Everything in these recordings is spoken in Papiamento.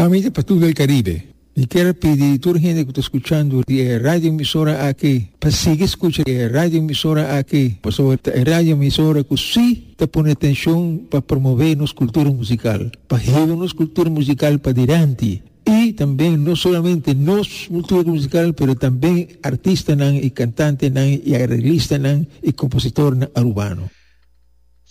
Ami ta Patul del Caribe. Mi kier pidi tur hende ku ta skuchando di e radio emisora aki pa sigui skucha e radio emisora aki pasobra ta e radio emisora ku si ta pone atenshon pa promove nos kultura musikal, pa hiba nos kultura musikal padilanti i tambe no solamente nos kultura musikal pero tambe artistanan i kantantenan i areglistanan i kompositornan arubano.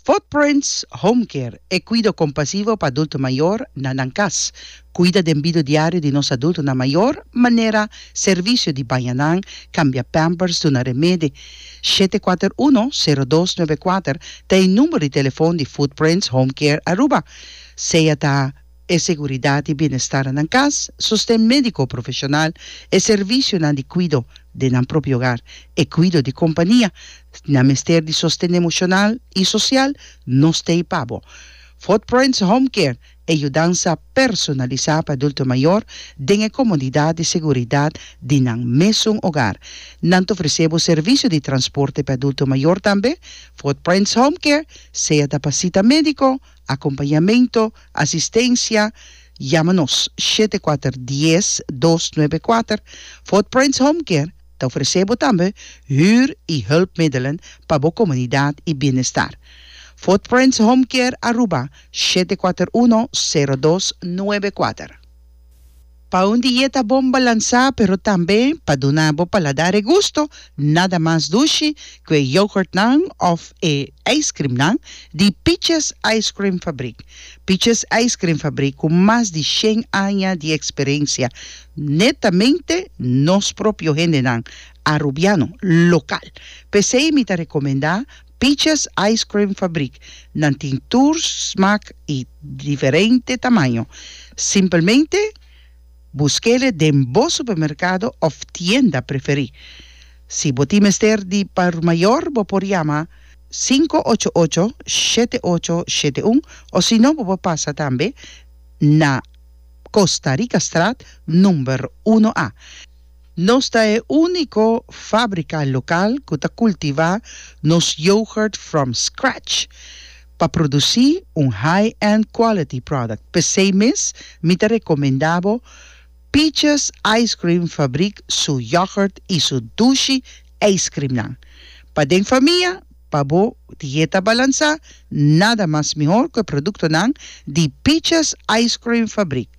Footprints Home Care, e kuido kompasivo pa adulto mayor na nan kas. Kuida den bido diario di nos adultonan mayor, manera servisio di baña nan, kambia pampers, duna remedi. 741 0294 ta e number di telefon di Footprints Home Care Aruba. Sea ta. e seguridat i bienestar na nan kas, sosten médiko profeshonal, e servisionan di kuido den nan propio hogar, e kuido di kompania. Si nan mester di sosten emoshonal i sosial, nos ta ei pa bo. Footprints Home Care, e yudansa personalisá pa adulto mayor den e komodidat i seguridat di nan mesun hogar. Nan ta ofresé bo servisio di transporte pa adulto mayor tambe. Footprints Home Care, sea ta pa sita médiko, Acompañamento, asistencia, Yama nos, 74 10 294. Footprints Home Care ta ofrece bo tambe huur y hulpmiddelen pa bo comunidad y bienestar. Footprints Home Care Aruba, 741 0294. Pa un dieta bon balansá pero tambe pa duna bo paladar e gusto, nada mas dushi ku e yoghurtnan òf e ijskrimnan di Peaches Ice Cream Fabriek. Peaches Ice Cream Fabriek ku mas di shen aña di eksperensia, netamente nos propio hendenan Arubiano, lokal. P'esei mi ta rekomendá Peaches Ice Cream Fabriek. Nan tin tur smak y diferente tamaño. Simpelmente buskele den bo supermercado of tienda preferi. Si bo tin mester di por mayor bo por yama 588 7871 o si no bo por pasa tambe na Costa Ricastraat number uno A. Nos ta e úniko fábrika lokal ku ta kultivá nos yoghurt from scratch pa produsí un high-end quality product. P'esei mes mi ta rekomendá bo Peaches Ice Cream Fabriek su yoghurt i su dushi ijskrimnan. Pa den famia, pa bo dieta balansá, nada mas mihor ku e produktonan di Peaches Ice Cream Fabriek.